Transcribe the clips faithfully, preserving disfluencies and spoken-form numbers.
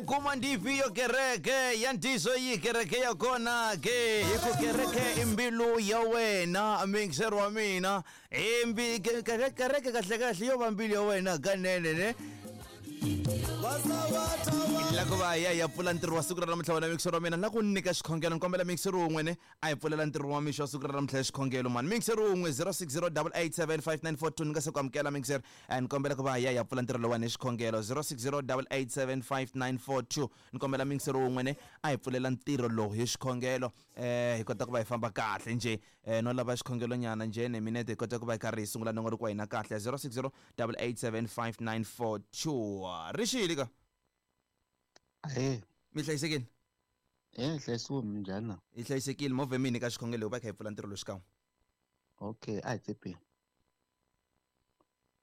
Vhukuma ndi ifhio kereke ya ntiyiso yi kereke ya kona ke hi ku kereke i mbilu ya wena mixer wa mina i mbi ke- kereke kereke kahle kahle yo va mbilu ya wena kanene ne la ku va ya ya pfula ntirho wa siku ra namuntlha wena mixer wa mina na ku nyika xikhongelo ni kombela mixer wun'we ne a hi pfulela ntirho wa mixo wa siku ra namuntlha hi xikhongelo mani mixer wun'we zero six zero double eight seven five nine four two ni nga se ku amukela mixer eh, ni kombela ku va ya ya pfula ntirho lowani hi xikhongelo zero six zero double eight seven five nine four two ni kombela mixer wun'we ne a hi pfulela ntirho lowu hi xikhongelo eh hi kota ku va hi famba kahle njhe eh no lava xikhongelo nyana njhe ne minete hi kota ku va hi karhi hi sungula nongonoko wa hina kahle zero six zero double eight seven five nine four two rixile ka Ahee, mi hlayisekile eh hlayisiwe minjhani na? hi hlayisekile movha mini ka xikhongelo va kha hi pfula ntirho lowu xikan'we Okay, a hi tsepeni.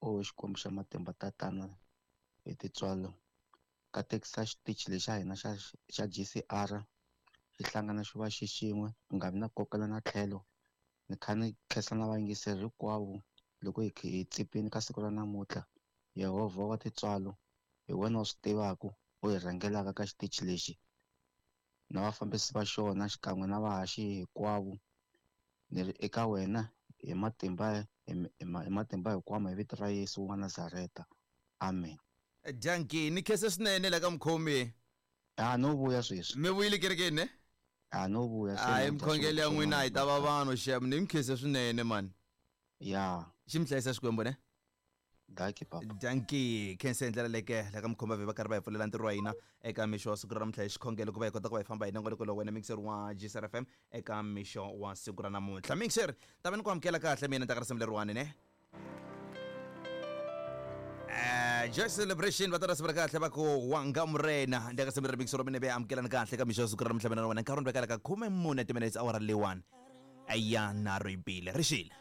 O Xikwembu xa matimba tatana hi tintswalo katekisa xitichi lexa hina xa xa G C R xi hlangana xi va xi xin'we ku nga vi na kokela na tlhelo ni kha ni khensa na vayingiseri hinkwavo loko hi kha hi tsepini ka siku ra namuntlha Yehovha wa tintswalo hi wena u swi tivaka u hi rhangelaka ka xitichi lexi na vafambisi va xona xikan'we na vahaxi hinkwavo ni ri eka wena hi matimba hi hi ma- hi matimba hinkwawo hi vito ra Yesu wa Nazareta amen. Danki ni khense swinene la ka mukhomi. A no vuya sweswi. Mi vuyile kerekeni ne? A no vuya se hayi na dya mikhongelo ya swilo n'wina hi ta va swin'wana. vanhu xem ni mi khense swinene mani. Ya. Xi mi hlayisa Xikwembu ne? Danki papa. Danki khense hi ndlela leke la ka mukhomba va karhi va hi pfulela ntirho wa hina eka mixo wa siku ra namuntlha hi xikhongelo ku va hi kota ku va hi famba hi nongonoko lowu wena mixer wa G C R F M eka mixo wa siku ra namuntlha mixer ta va ni ku amukela kahle mina ta ka risimu leriwani ne. Eh, Joy Celebration va ta risimu ra kahle va ku wanga murena ndi ka risimu leri mixer wa mina ve amukelani kahle ka mixo wa siku ra namuntlha mina na wena nkarhi wu ni vekela ka khume mune timinutes awara leyiwani ya nharhu yi bile rixile.